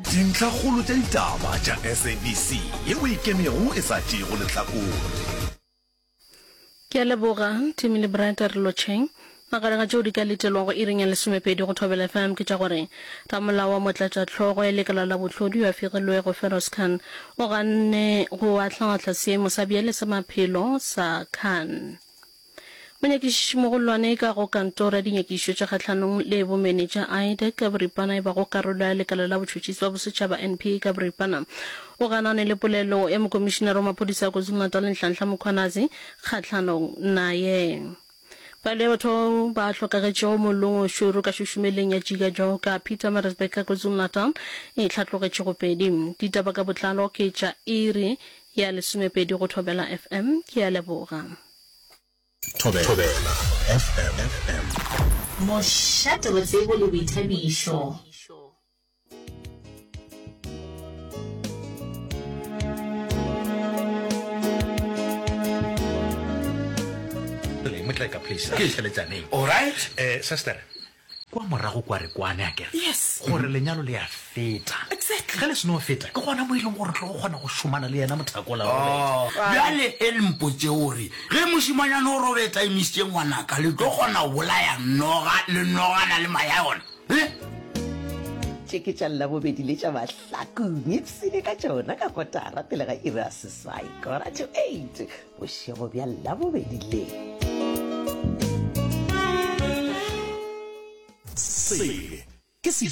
Dintlhakgolo tša ditaba tša SABC yeo e ikemego e sa tšeego lehlakore. Ke a leboga, Timmy le Bright a re lotšheng. Magareng a tšeo di ka letelwago iring ya lesomepedi go Thobela FM ke tša gore ramolao wa motlatšahlogo ya lekala la bohlodi yo a fegilwego Feroz Khan o ganne go ahlaahla seemo sa bjale sa maphelo sa Khan. Monyakišišimogolwane ka go Kantoro ya Dinyakišišo tša Kgahlanong le Bomenetša, IDAC, ka boripana e bago karolo ya Lekala la Botšhotšhisi ba Bosetšhaba, NPA, ka boripana, o ganane le polelo ya Mokomišinare wa Maphodisa a KwaZulu-Natal Nhlanhla Mkhwanazi kgahlanong naye. Palo ya batho bao ba hlokagetšego mollong o šoro ka šušumeleng ya Jika Joka, Pietermaritzburg ka KwaZulu-Natal e hlatlogetše go pedi. Ditaba ka botlalo ke tša iri ya lesomepedi go Thobela FM. Ke a leboga. Thobela FM. Mošate wa tsebo le boithabišo. Motleka please, a re theletšaneng. All right. Eh, sister, kwa morago kwa re kwane akere Yes. gore lenyalo le a feta. Exactly. Ge le seno feta, ke gona mo e leng gore re tlo go kgona go šomana le yena mothakola Robert. Oh, bjale e le mpotše gore ge mošemanyana o Robert a emišitše ngwanaka, le tlo kgona go bolaya noga le nogana le mae a yona? Eh? Tše ke tša Labobedi le tša Mahlakung. Ipshine ka tšona ka kotara pele ga iri ya seswai, quarter to eight, bošego bja Labobedi le. Se ke se.